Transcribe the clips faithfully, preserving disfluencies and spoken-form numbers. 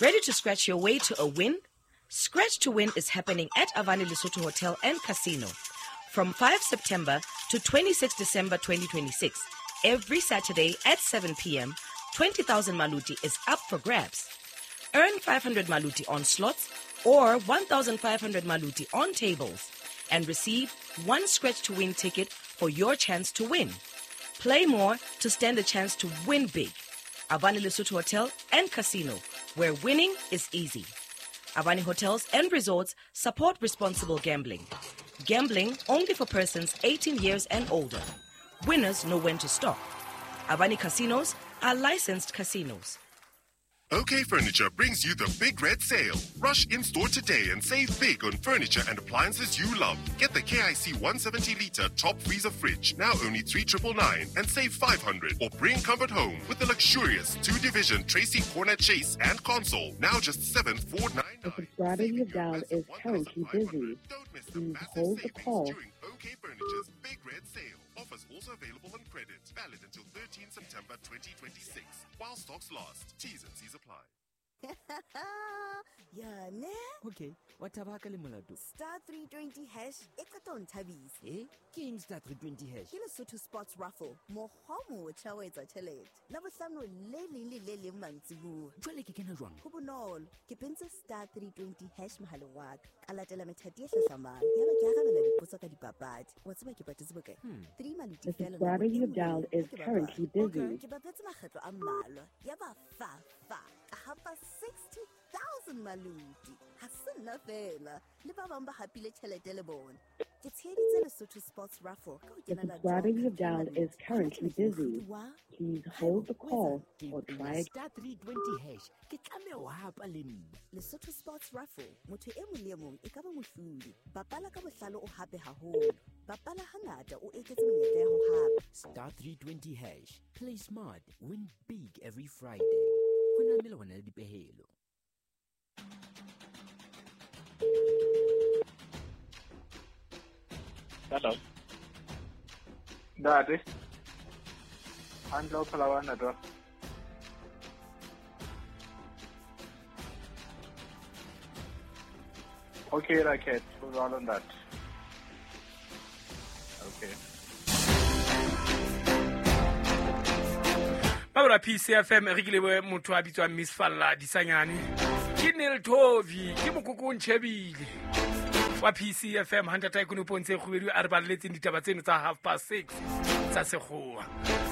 Ready to scratch your way to a win? Scratch to Win is happening at Avani Lesotho Hotel and Casino from five September to twenty-sixth December twenty twenty-six. Every Saturday at seven p m, twenty thousand Maluti is up for grabs. Earn five hundred Maluti on slots or one thousand five hundred Maluti on tables and receive one Scratch to Win ticket for your chance to win. Play more to stand a chance to win big. Avani Lesotho Hotel and Casino, where winning is easy. Avani Hotels and Resorts support responsible gambling. Gambling only for persons eighteen years and older. Winners know when to stop. Avani Casinos are licensed casinos. OK Furniture brings you the Big Red Sale. Rush in-store today and save big on furniture and appliances you love. Get the K I C one seventy litre top freezer fridge, now only three triple nine, and save five hundred. Or bring comfort home with the luxurious two-division Tracy Cornet Chase and console, now just seven four nine nine. The subscriber you have dialed is currently busy. Don't miss the Please massive hold the savings call. during OK Furniture's Big Red Sale. Offers also available on credit. Valid until thirteenth September twenty twenty-six. While stocks last. T's and C's apply. Yeah, ne? Okay, what about le molato? Star three twenty hash e qeta ho nthabisa. Eh? Ke eng star three twenty hash? Ke Lesotho Sports Raffle. Mokgwa o motjha wa etsa tjhelete. Labohlano le leng le le leng mantsiboya. Jwale ke kena jwang? Ho bonolo. Ke pentse star three twenty hash mohaleng wa ka. Ka latela methati e hlahlamang. Yaba ke arabela dipotso ka dipapadi. Wa tseba ke patetse bokae? Hmm. Three maluti The fela subscriber nako you e have nngwe dialed le is e nngwe ke currently bapala. busy. Ke bapetse makgetlo a mmalwa. Yaba fa fa. Ka hapa sixty thousand maluti. Ha se nna fela. Le ba bang ba hapile tjhelete le bona. Ke tsheheditse Lesotho Sports Raffle ka ho The kenela subscriber you have draw dialed maluti. is currently Hona jwale ke busy. mohlodi wa Please hold the call Ke or penya try again. star three twenty hash. Ke tlameha ho hapa le nna. Lesotho Sports Raffle, motho e mong le e mong e ka ba mohlodi. Bapala ka bohlale o hape haholo. Bapala hangata o eketse menyetla ya ho hapa. Star three twenty hash. Play smart, win big every Friday. Ho na le melawana le dipehelo. Hello. Ntate. Hantle o phela wa ntate wa? Okay, Raket, ho jwalo ntate. Okay. Ba P C F M re ke lebohe motho a bitswang Miss Falla Disanyane. Ke Neil Tovey, ke mokoko o ntjhebile. Wa P C F M ha ntata Ikono Pontshe Kgubedu a re balelletseng ditaba tseno tsa half past six tsa sekgowa.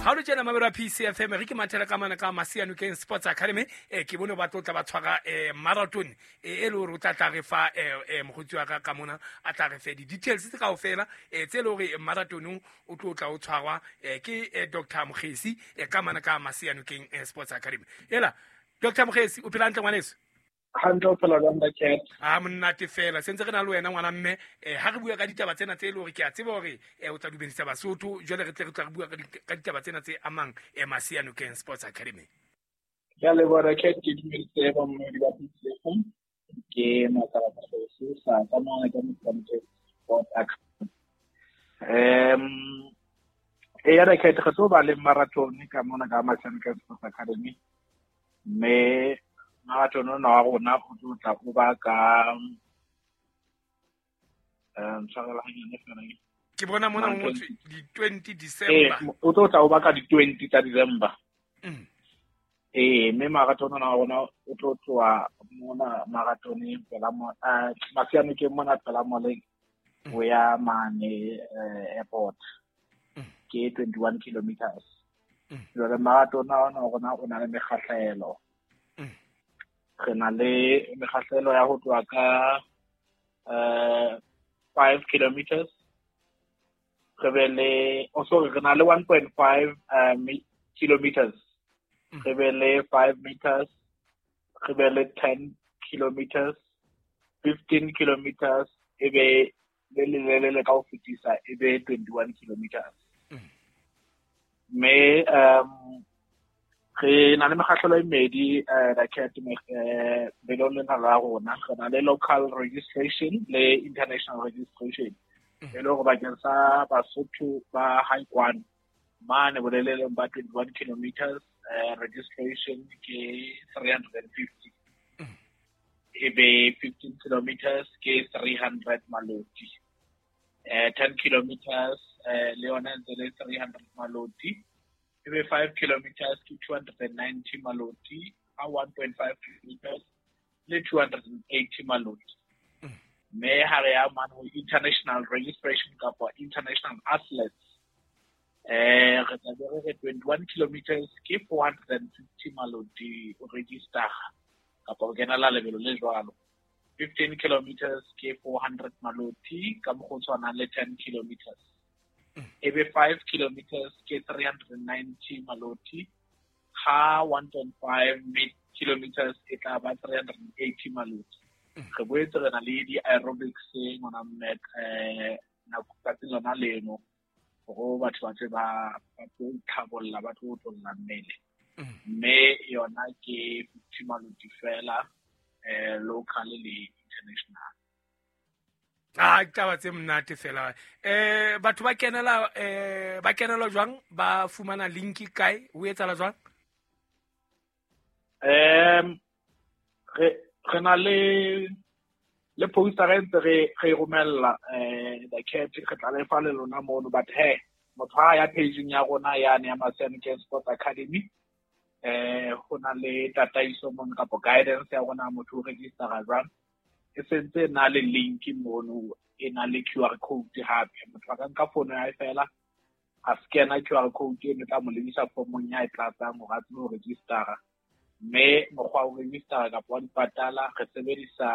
Ha o le tjena mabelo a P C F M re ke mathela ka mana ka Masianokeng Sports Academy, eh, ke bone ba tlo tla ba tshwara, eh, marathon, eh, e le hore o tla tla re fa, eh, eh, mokgotsi wa ka ka mona, a tla re fe di-details tse kaofela, eh, tse le hore marathonong o tlo tla o tshwarwa, eh, ke, eh, Doctor Mokgesi, eh, ka mana ka Masianokeng, eh, Sports Academy. Ela, Doctor Mokgesi, o phela hantle ngwaneso? Hantle o phela jwang, Raket? A monate fela, sentse re na le wena ngwana mme, eh, ha re bua ka ditaba tsena tse e le hore ke a tseba hore, eh, o tla dumedisa Basotho, jwale re tle re tla re bua ka di-, ka ditaba tsena tse amang, eh, Masianokeng Sports Academy. Ke a leboha, Raket, ke dumedise ba mmedi ba P C F M. Ke Makala Mokgesi, sa ka mona ka Masianokeng Sports Academy. Em, e ya Raket, re tlo ba le marathon ka mona ka Masianokeng Sports Academy. Mme marathon ona wa rona o tlo tla o ba ka, em, tshwarela hanyane fela ke. Ke bona mona ho Marathon. ngotswe di twenty December. Eh, o tlo tla o ba ka di twenty tsa December. Mm. Eh, mme marathon ona wa rona o tlo tloha mona marathoneng pela mo, eh, Masianokeng mona pela moleng, Mm. ho ya mane, eh, airport. Mm. Ke twenty-one kilometers. Mm. Jwale marathon ona wa rona o na le mekgahlelo. Mm. Re na le mekgahlelo ya ho tloha ka, eh, five kilometers. Re be le, oh, sorry, re na le one point five, eh, mi-, kilometers. Mm. Re be le five meters. Re be le ten kilometers, fifteen kilometers, e be le le le le le ka ho fetisa, e be twenty-one kilometers. Mm. Mme, um, re na le mekgahlelo e mmedi, eh, Raket, eh, belong lena la rona. Re na le local registration le international registration. Mm. E le hore bakeng sa Basotho ba Haikwane, mane boleleleng ba twenty-one kilometers, eh, registration ke three hundred and fifty. E be fifteen kilometers ke three hundred maloti. Eh ten kilometers eh le yona ntse le three hundred maloti. E be five kilometers ke two hundred ninety maloti, a one point five kilometers le two hundred eighty maloti. Mme ha re ya mane ho international registration kapa international athletes, eh re tla be re re twenty-one kilometers ke four hundred fifty maloti o register kapa o kenela lebelo le jwalo. fifteen kilometers ke four hundred maloti ka mokgwa o tshwanang le ten kilometers. E be five kilometers ke three hundred ninety maloti, ha one point five kilometers e tla ba three hundred eighty maloti. Re boetse re na le di-aerobics ngwana mme eh nako tsatsing lona leno hore batho ba tle ba ba tlo itlhabolla, ba tlo otlolla mmele. Mme yona ke fifty maloti fela, eh local le international. Ah, taba tse monate fela. Eh batho ba kenela eh ba kenela jwang, ba fumana link kae, ho etsahala jwang? Em re re na le le poster re ntse re re romella eh the cat re tla le fa le lona mono, but he motho ha ya page-ing ya rona yane ya Maseanokeng Sports Academy, eh ho na le tataiso mono kapa guidance ya rona motho o register-a jwang. E sentse na le link mono, e na le Q R code hape. Motho a ka nka fono ya hae fela a scanner Q R code eno, tla mo lebisa formong ya e tlatsang hore a tsebe ho register-a. Mme mokgwa wa ho register-a kapa wa dipatala re sebedisa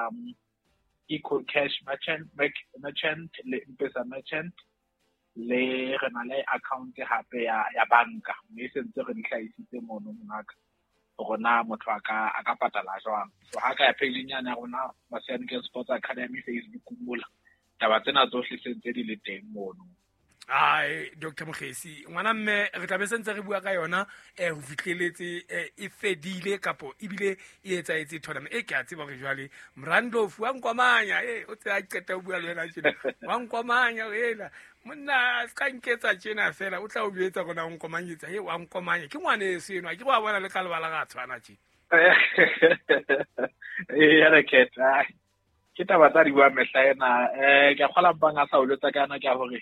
um Eco Cash Merchant, Merchant le M-Pesa Merchant, le re na le account hape ya ya banka, mme sentse re di hlahisitse mono monaka hore na motho a ka a ka patala jwang. So ha ka ya page-ing yane ya rona Maseanokeng Sports Academy Facebook mola, taba tsena tsohle sentse di le teng mono. Ai Doctor Mokhesi, ngwana mme re tla be sentse re bua ka yona eh ho fihleletse e fedile kapo ebile e etsaetse tournament e ke a tseba hore jwale Mrandlofu wa nkwamanya eh o tse a qeta ho bua le wena tjena wa nkwamanya ela monna se ka nketsa tjena fela o tla o jwetsa rona o nkwamanyetsa he wa nkwamanya ke ngwane eso eno ke wa bona le ka lebala ga tshwana tje eh ya re ketsa ke taba tsa di bua mehla ena eh ke a kgola mpang a sa o lotsa kana ke a hore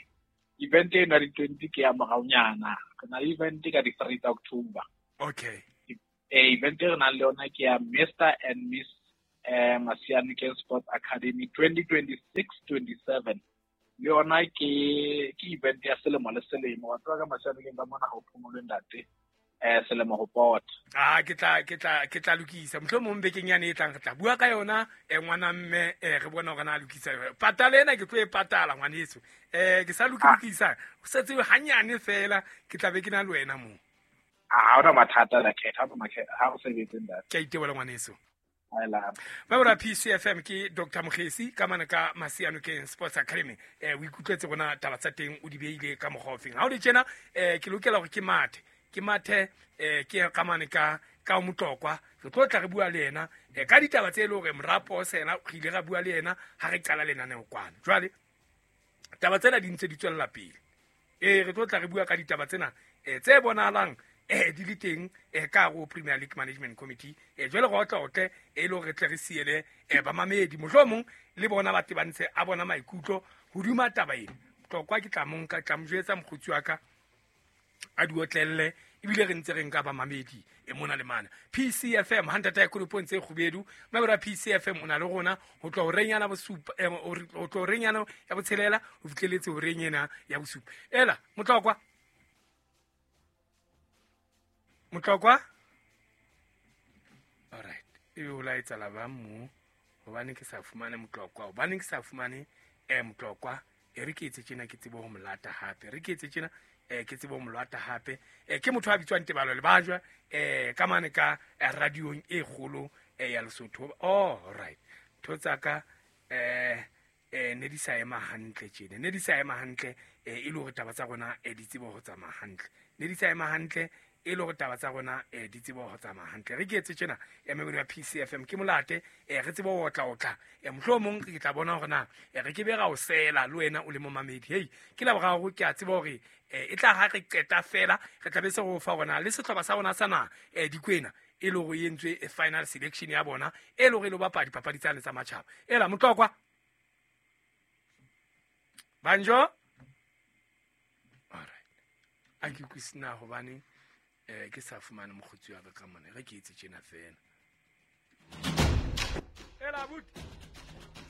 event ena di twenty ke ya moraonyana. Re na le event ka di three tsa October. Okay. Eh event e re nang le yona ke ya Mister and Miss eh Maseanokeng Sports Academy twenty twenty-six twenty-seven. Le yona ke ke event ya selemo le selemo. Wa tseba ka Maseanokeng ka mona ha o phomolwe ntate eh selemo ho pota. Ah ke tla ke tla ke tla lokisa mohlomong bekeng yane e tlang re tla bua ka yona eh ngwana mme eh re bona hore na lokisa patala ena ke tlo e patala ngwaneso eh ke sa lokisa o setse hanyane fela ke tla be ke na le wena mo. Ah ha ona mathata la khetha ha makhetha ha o sebetse ntate. Ke a itebola ngwaneso. Ba bora P C F M ke Doctor Mokhesi ka mana ka Maseanokeng Sports Academy eh o ikutlwetse rona taba tsa teng o di beile ka mokgwa ofeng ha o le tjena eh ke lokela hore ke mathe ke mathe eh ke ka mane ka ka Motlokwa re tlo tla re bua le yena eh ka ditaba tse le hore morapo sena re ile ra bua le yena ha re qala lenaneo kwana jwale taba tsena di ntse di tswella pele eh re tlo tla re bua ka ditaba tsena eh tse bonahalang eh di le teng eh ka go Premier League Management Committee eh jwale go tla otle e le hore tle re siele eh ba mamedi mohlomong le bona ba tebantse a bona maikutlo hodima taba ena Motlokwa ke tla monka tla mojwetsa mokgotsi wa ka a di otlelle ebile re ntse re nka ba mamedi e mona le mana P C F M hantata ya kolopong tse kgubedu mabera P C F M o na le rona ho tlo renyana bosupa ho tlo renyana ya botshelela ho fihleletse ho renyena ya bosupa ela Motlokwa Motlokwa all right e o laetsa la ba mo hobane ke sa fumane Motlokwa hobane ke sa fumane eh Motlokwa e re ke etse tjena ke tsebe ho molata hape re ke etse tjena eh ke tsebe ho molata hape eh ke motho a bitswang Tebalo Lebajwa eh ka mane ka radiong e kgolo eh ya Lesotho. Oh right tho tsaka eh eh ne di sa ema hantle tjena ne di sa ema hantle eh e le hore taba tsa rona eh di tsebe ho tsamaya hantle ne di sa ema hantle e le hore taba tsa rona eh di tsebe ho tsamaya hantle re ke etse tjena ya mebedi ya P C F M ke molate eh re tsebe ho otla otla eh mohlomong ke tla bona hore na eh re ke be ra o sela le wena o le momamedi hey ke la boraro ke a tseba hore eh e tla ha re qeta fela re tla be se go fa rona le sehlopha sa rona sa na eh dikwena e le hore e entswe e final selection ya bona e le hore e lo bapala dipapadi tsane tsa matjhaba. Ela Motlokwa Banjo. Alright, a ke utlwisise hobane eh ke sa fumane mokgotsi wa ka ka mona, re ke etse tjena fela. Ela buti.